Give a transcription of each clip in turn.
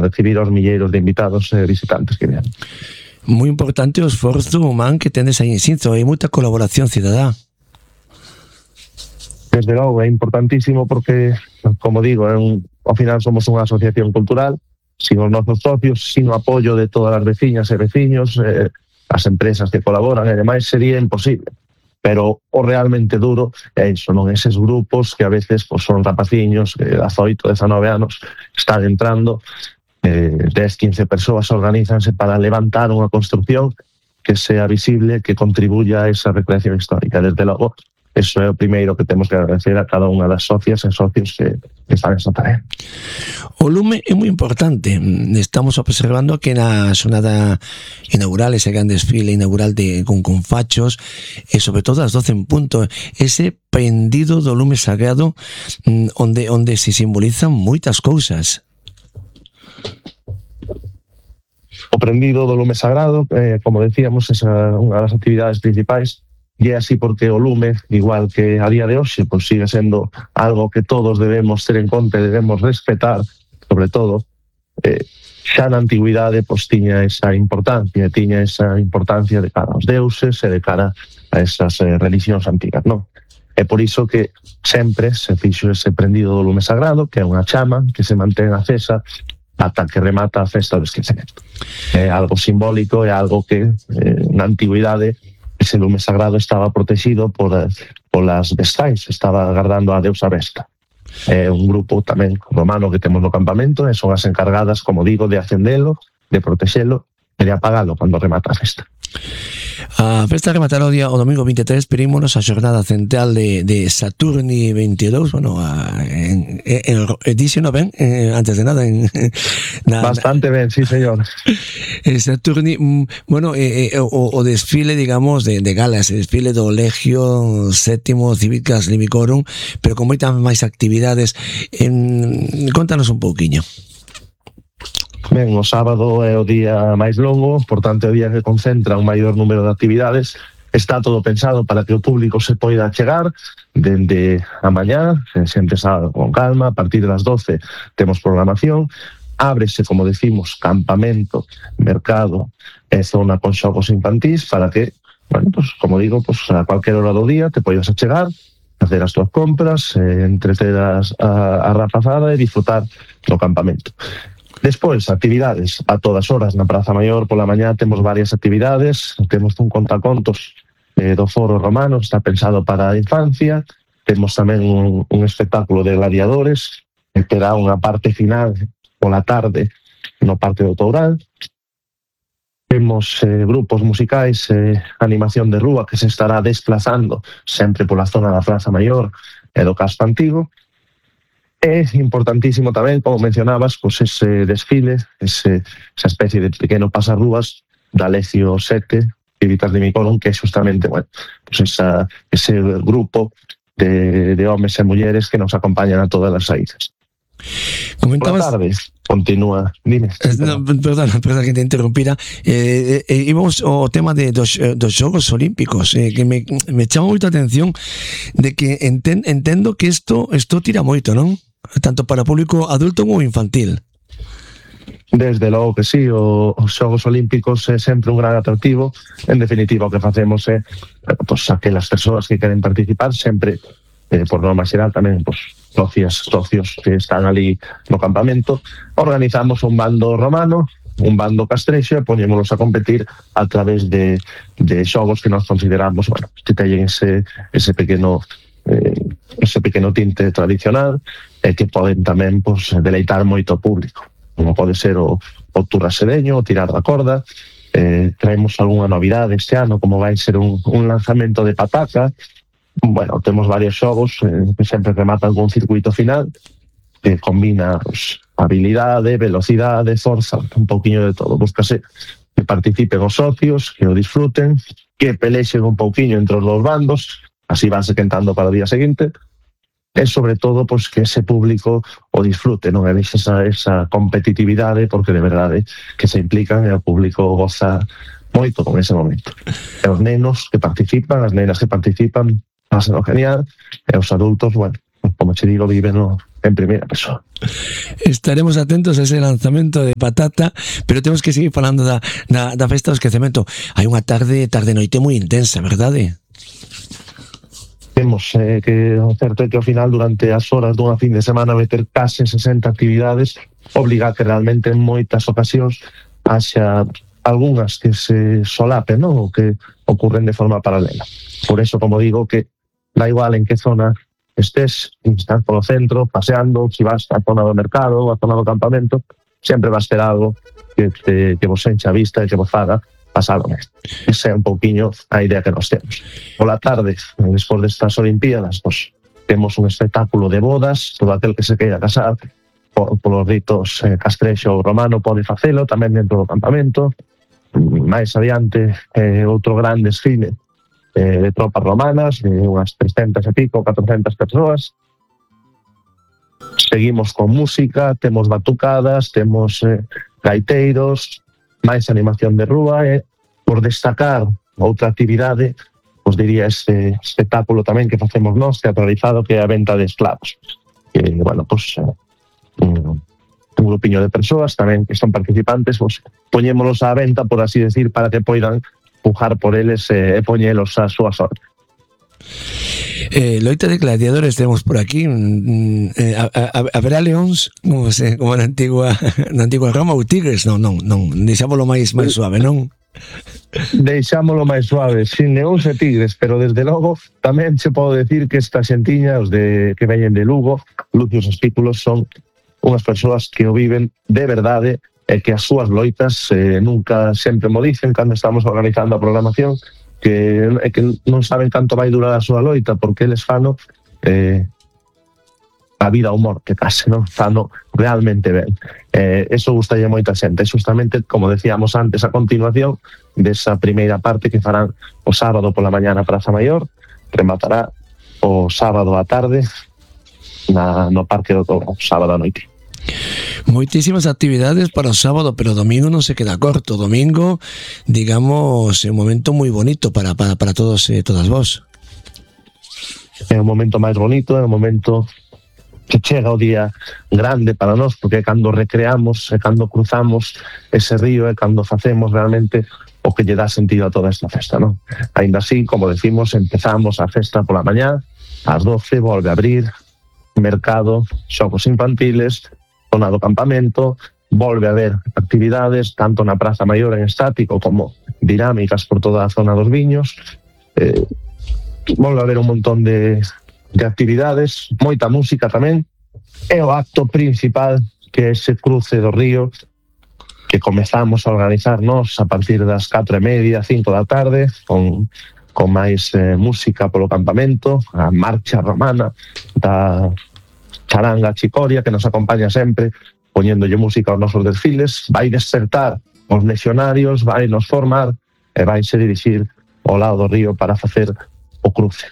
recibir os milleiros de invitados e visitantes que vienen. Moi importante o esforzo humán que tendes aí en Xinzo, hai moita colaboración cidadá. Desde logo, é importantísimo porque, como digo, ao final somos unha asociación cultural, sin os nosos socios, sin o apoio de todas as veciñas e veciños, as empresas que colaboran e demais, sería imposible. Pero o realmente duro é iso, non? Eses grupos que a veces pues, son rapaciños que 18, 19 anos están entrando, 10, 15 persoas organizanse para levantar unha construcción que sea visible, que contribuya a esa recreación histórica. Desde logo, eso é o primeiro que temos que agradecer a cada unha das socias e socios que están nesta tarea. O lume é moi importante. Estamos observando que na xornada inaugural, ese gran desfile inaugural con fachos, e sobre todo as 12 en punto, ese prendido do lume sagrado onde se simbolizan moitas cousas. O prendido do lume sagrado, como decíamos, é unha das actividades principais. E é así porque o lume, igual que a día de hoxe, pues sigue sendo algo que todos debemos ter en conta e debemos respetar, sobre todo, xa na antigüidade pues, tiña esa importancia de cara aos deuses e de cara a esas religións antigas, non? É por iso que sempre se fixo ese prendido do lume sagrado, que é unha chama que se mantén acesa ata que remata a festa do esquecemento. É algo simbólico, é algo que na antigüidade ese lume sagrado estaba protegido polas vestais, estaba agardando a deusa Vesta. É un grupo tamén romano que temos no campamento e son as encargadas, como digo, de acendelo, de protexelo e de apagalo cando remata a festa. A festa rematará o domingo 23, perímonos a xornada central de Saturni 22, bueno, díxeno ben, antes de nada bastante ben, sí señor. Saturni, bueno, o desfile, digamos, de galas, el desfile do Legio Sétimo Cívicas Limicorum, pero con moitas máis actividades. Contanos un pouquiño. Ben, o sábado é o día máis longo, por tanto é o día que concentra un maior número de actividades. Está todo pensado para que o público se poida chegar dende a mañá, se empeza con calma, a partir das 12 temos programación, ábrese, como decimos, campamento, mercado e zona con xogos infantís para que, bueno, pues, como digo, pues, a cualquier hora do día te poidas chegar, facer as túas compras, entreter a rapazada e disfrutar do campamento. Despois, actividades a todas horas na Praza Maior. Pola mañá temos varias actividades, temos un contacontos do Foro Romano, está pensado para a infancia, temos tamén un espectáculo de gladiadores, que terá unha parte final pola tarde no Parque do Toural. Temos grupos musicais, animación de rúa que se estará desplazando sempre pola zona da Praza Maior e do Casco Antigo. É importantísimo tamén, como mencionabas, pues ese desfile, esa especie de pequeno pasarrúas da Legio 7, Cívicas Limicorum, que é justamente, bueno, pues ese grupo de homes e mulleres que nos acompañan a todas as saídas. Comentabas... Por tarde, continúa, dime. Perdona que te interrumpira. Íbamos ao tema dos Xogos Olímpicos, que me chama moita atención de que entendo que isto tira moito, non? Tanto para público adulto como infantil. Desde logo que sí, os Xogos Olímpicos é sempre un gran atractivo. En definitiva, o que facemos é pues, aquelas persoas que queren participar sempre, por norma xeral tamén, pues, socios que están ali no campamento, organizamos un bando romano, un bando castrexo e poñémolos a competir a través de xogos que nos consideramos, bueno, que teñen ese pequeno tinte tradicional e que poden tamén pues, deleitar moito público, como pode ser o turrasedeño, o tirar da corda. Traemos algunha novidade este ano, como vai ser un lanzamento de pataca. Bueno, temos varios xogos que sempre rematan con un circuito final que combina pues, habilidade, velocidade, forza, un pouquiño de todo. Búscase que participen os socios, que o disfruten, que pelexen un pouquiño entre os dos bandos, así vanse quentando para o día seguinte, e sobre todo pues, que ese público o disfrute, non? E deixe esa competitividade, porque de verdade que se implican e o público goza moito con ese momento. E os nenos que participan, as nenas que participan, pasan genial, e os adultos, bueno, como che digo, viven en primeira persoa. Estaremos atentos a ese lanzamento de Patata, pero temos que seguir falando da festa do esquecemento. Hai unha tarde noite moi intensa, verdade? Temos que o certo é que ao final, durante as horas dunha fin de semana, meter case 60 actividades obliga a que realmente en moitas ocasións haxa algunhas que se solapen, non? O que ocurren de forma paralela. Por eso, como digo, que da igual en que zona estés, estás polo centro, paseando, si vas á zona do mercado ou á zona do campamento, sempre vas ter algo que vos encha a vista e que vos faga pasar o mesmo. Esa é un pouquiño a idea que nos temos. Pola tarde, despois destas Olimpíadas, pues, temos un espectáculo de bodas, todo aquel que se queira casar, polos ritos castrexo ou romano pode facelo, tamén dentro do campamento. Mais adiante, outro gran desfile de tropas romanas, de unhas 300 e pico, 400 persoas. Seguimos con música, temos batucadas, temos gaiteiros, máis animación de rúa, e por destacar outra actividade, os diría ese espectáculo tamén que facemos nós, teatralizado, que é a venta de esclavos. Que, bueno, pues, un grupiño de persoas tamén que son participantes, pues, poñémolos á venta, por así decir, para que poidan pujar por eles e poñelos a súa sorte. Loita de gladiadores temos por aquí. Haberá leóns como na antigua Roma ou tigres? Non, deixámoslo máis suave, non? Deixámoslo máis suave, sin leóns e tigres, pero desde logo tamén se pode decir que esta xentiña, os que veñen de Lugo, Lucius Espículos, son unhas persoas que o viven de verdade e que as súas loitas nunca, sempre mo dicen cando estamos organizando a programación, que non saben canto vai durar a súa loita, porque eles fano a vida ou morte case, non? Fano realmente ben. Eso gustalle moita xente. Justamente, como decíamos antes, a continuación desa primeira parte que farán o sábado pola mañá na Praza Maior, rematará o sábado á tarde no Parque do Touro, sábado á noite. Moitísimas actividades para o sábado, pero o domingo non se queda corto. O domingo, digamos, é un momento moi bonito para todos e todas vos. É o momento máis bonito, é o momento que chega o día grande para nós, porque é cando recreamos, é cando cruzamos ese río, é cando facemos realmente o que lle dá sentido a toda esta festa, non? Ainda así, como decimos, empezamos a festa pola mañá, ás 12 volve a abrir mercado, xogos infantiles, zona do campamento, volve a haber actividades tanto na Praza Maior en estático como dinámicas por toda a zona dos viños. Volve a haber un montón de actividades, moita música tamén, e o acto principal, que é ese cruce do río que comezamos a organizarnos a partir das 4:30, 5 da tarde, con máis música polo campamento, a marcha romana da charanga Chicoria, que nos acompaña sempre, poñéndolle música aos nosos desfiles, vai despertar os legionarios, vai nos formar e vai se dirixir ao lado do río para facer o cruce.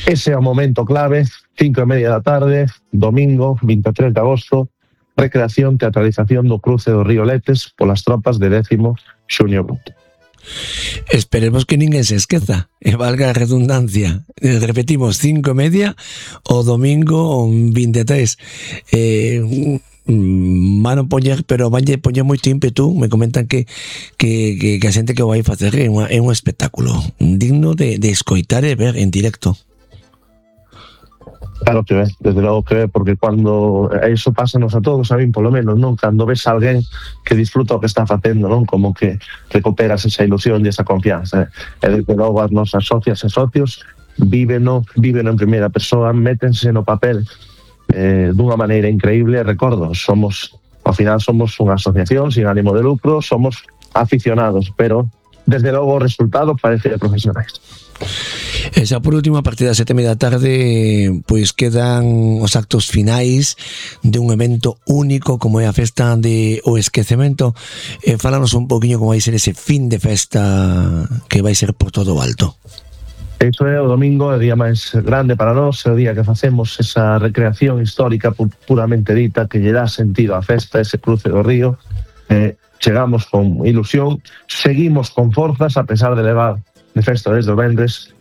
Ese é o momento clave, 5:30 da tarde, domingo, 23 de agosto, recreación, teatralización do cruce do río Letes polas tropas de 10º Xunio Bruto. Esperemos que ninguén se esqueza, e valga a redundancia. Repetimos, 5:30 o domingo 23. Van a poñer, pero van a poñer moito ímpetu. Me comentan que a xente que o vai facer é un espectáculo digno de escoitar e ver en directo. Claro que ve, desde logo que ve, porque cando eso pásanos a todos, a min polo menos, non? Cando ves a alguén que disfruta o que está facendo, non? Como que recuperas esa ilusión e esa confianza. E desde logo as nosas socias e socios víveno en primeira persoa, métense no papel dunha maneira increíble. Recordo, ao final somos unha asociación sin ánimo de lucro, somos aficionados, pero desde logo o resultado parece de profesionais. E xa por último, a partir das 7:30 da tarde, pois quedan os actos finais de un evento único como é a festa de O Esquecemento. Fálanos un poquinho como vai ser ese fin de festa que vai ser por todo o alto. Iso é o domingo, o día máis grande para nós, é o día que facemos esa recreación histórica puramente dita, que lle dá sentido á festa, ese cruce do río. Chegamos con ilusión, seguimos con forzas a pesar de levar de festa desde o vendres,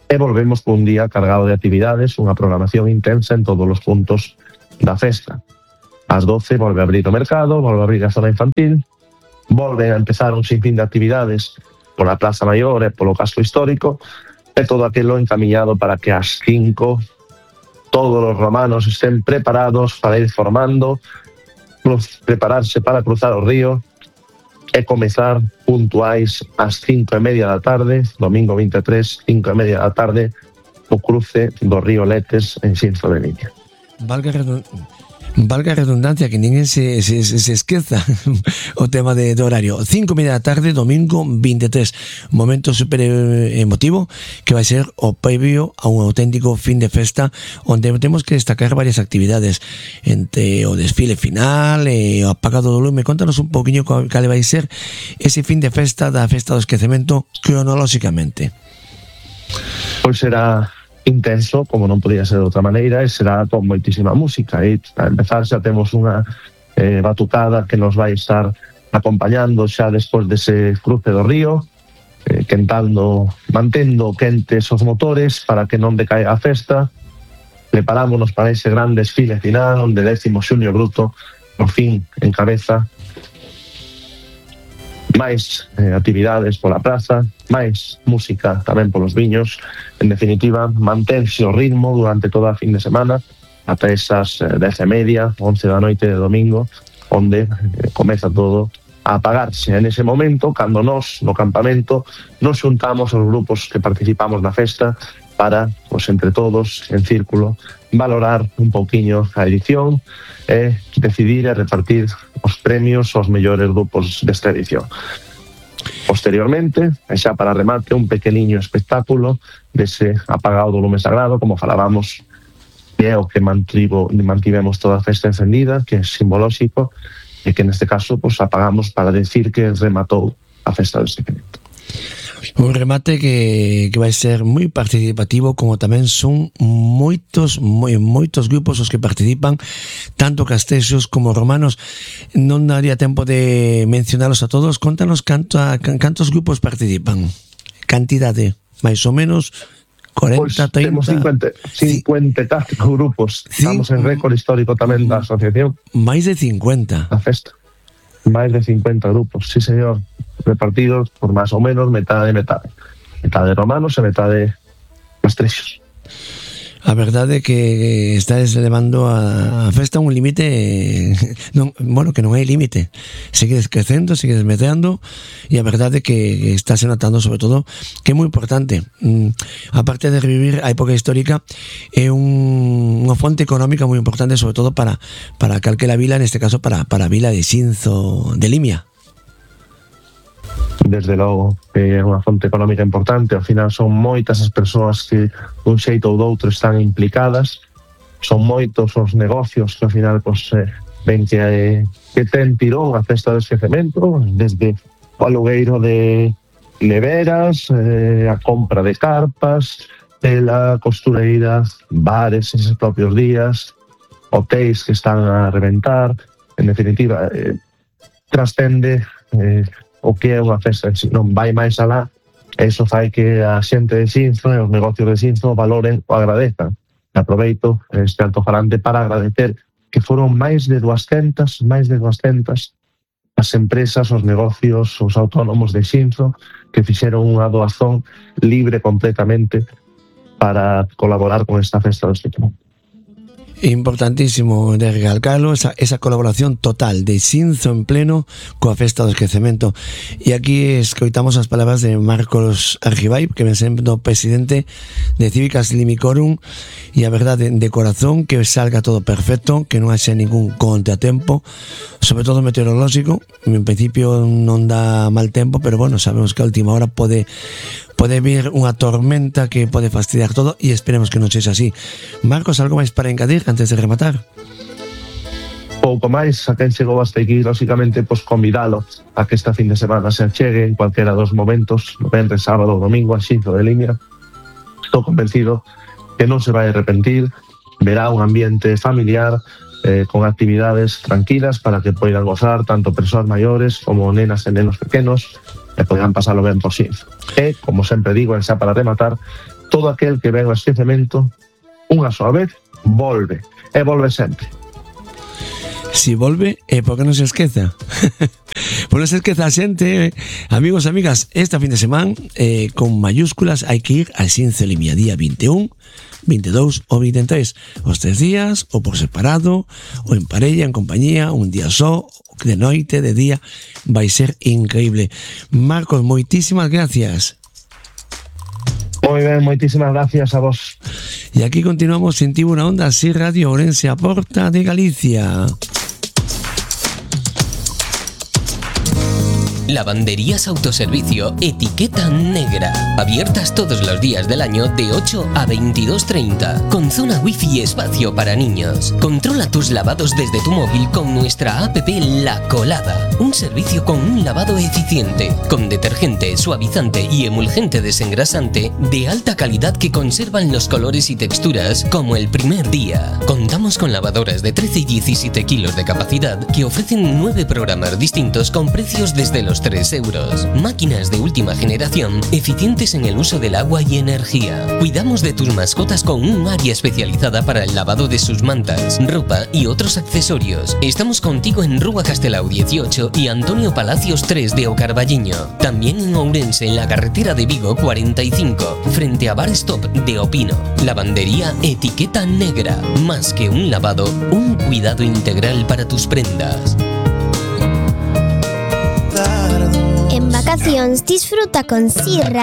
e volvemos con un día cargado de actividades, unha programación intensa en todos os puntos da festa. Ás 12 volve a abrir o mercado, volve a abrir a zona infantil, volven a empezar un sinfín de actividades pola Praza Maior e polo casco histórico, e todo aquilo encamiñado para que ás 5 todos os romanos estén preparados para ir formando, prepararse para cruzar o río e comezar puntuais ás 5:30 da tarde, domingo 23, 5:30 da tarde, o cruce do río Letes en Xinzo de Limia. Valga a redundancia, que ninguén se esqueza o tema de horario. 5:30 da tarde, domingo 23. Momento super emotivo que vai ser o previo a un auténtico fin de festa onde temos que destacar varias actividades entre o desfile final e o apagado do lume. Contanos un poquinho cal vai ser ese fin de festa da Festa do Esquecemento cronolóxicamente. Pois será intenso, como non podía ser de outra maneira, e será con moitísima música. E para empezar xa temos unha batucada que nos vai estar acompañando xa despois dese cruce do río, mantendo quentes os motores para que non decaiga a festa. Preparámonos para ese gran desfile final onde 10º Xunio Bruto por fin encabeza máis actividades pola praza, máis música tamén polos viños. En definitiva, mantense o ritmo durante toda a fin de semana ata esas 10:30, 11 da noite de domingo, onde comeza todo a apagarse. En ese momento, cando nós, no campamento, nos xuntamos os grupos que participamos na festa para, pues, entre todos, en círculo, valorar un pouquiño a edición e decidir e repartir os premios aos mellores grupos desta edición. Posteriormente, e xa para remate, un pequeniño espectáculo dese apagado do lume sagrado, como falábamos, que é o que mantivemos toda a festa encendida, que é simbolóxico, e que neste caso pues, apagamos para decir que rematou a festa do Esquecemento. Un remate que vai ser moi participativo, como tamén son moitos grupos os que participan, tanto castexos como romanos. Non daría tempo de mencionalos a todos. Contanos cantos grupos participan, cantidade, máis ou menos 40, pues 30... Temos 54 grupos. Estamos en récord histórico tamén da asociación. Máis de 50. A festa. Máis de 50 grupos, sí señor, repartidos por máis ou menos metade. Metade romanos e metade castrexos. A verdade é que estás elevando a festa a un límite que non hai límite. Segues crecendo, segues meteando, e a verdade é que estás notando sobre todo que é moi importante. Aparte de revivir a época histórica, é unha fonte económica moi importante, sobre todo para calquera vila, neste caso para a vila de Xinzo de Limia. Desde logo, é unha fonte económica importante. Ao final son moitas as persoas que dun xeito ou doutro están implicadas, son moitos os negocios que ao final ven que ten tirón a festa do Esquecemento, desde o alugueiro de neveras, a compra de carpas, tela, costureira, bares eses propios días, hotéis que están a reventar. En definitiva, trascende o que é unha festa, non vai máis alá, e iso fai que a xente de Xinzo e os negocios de Xinzo valoren o agradezan. Aproveito este altofarante para agradecer que foron máis de 200 as empresas, os negocios, os autónomos de Xinzo que fixeron unha doazón libre completamente para colaborar con esta festa do Esquecemento. Importantísimo de recalcarlo, esa colaboración total de Xinzo en pleno coa festa do Esquecemento. E aquí escoitamos as palabras de Marcos Argibay, que ven sendo presidente de Cívicas Limicorum, e a verdade, de corazón, que salga todo perfecto, que non haxe ningún contratempo, sobre todo meteorolóxico. En principio non dá mal tempo, pero bueno, sabemos que a última hora pode vir unha tormenta que pode fastidiar todo, e esperemos que non sexa así. Marcos, algo máis para engadir antes de rematar? Pouco máis, a quen chegou hasta aquí, lógicamente, convidalo a que esta fin de semana se achegue en cualquera dos momentos, no venres, sábado ou domingo, a Xinzo de Limia. Estou convencido que non se vai arrepentir, verá un ambiente familiar, con actividades tranquilas para que poidan gozar tanto persoas maiores como nenas e nenos pequenos, e poderán pasalo ben por Xinzo. E, como sempre digo, xa para rematar, todo aquel que ven o Esquecemento unha soa vez volve, e volve sempre. Si volve é porque non se esqueza. Por non se esqueza a xente, amigos e amigas, esta fin de semana con mayúsculas hai que ir a Xinzo Limia, día 21, 22 ou 23. Os 3 días, ou por separado, ou en parella, en compañía, un día só, de noite, de día, vai ser increíble. Marcos, moitísimas gracias. Moi ben, moitísimas gracias a vos. E aquí continuamos en Tivo na Onda, así Radio Ourense, a porta de Galicia. Lavanderías Autoservicio Etiqueta Negra. Abiertas todos los días del año de 8 a 22:30. Con zona wifi y espacio para niños. Controla tus lavados desde tu móvil con nuestra app La Colada. Un servicio con un lavado eficiente. Con detergente, suavizante y emulgente desengrasante de alta calidad que conservan los colores y texturas como el primer día. Contamos con lavadoras de 13 y 17 kilos de capacidad que ofrecen 9 programas distintos con precios desde los 3 euros. Máquinas de última generación, eficientes en el uso del agua y energía. Cuidamos de tus mascotas con un área especializada para el lavado de sus mantas, ropa y otros accesorios. Estamos contigo en Rúa Castelao 18 y Antonio Palacios 3 de Ocarballiño. También en Ourense, en la carretera de Vigo 45, frente a Bar Stop de Opino. Lavandería Etiqueta Negra. Más que un lavado, un cuidado integral para tus prendas. En vacacións disfruta con Si Radio.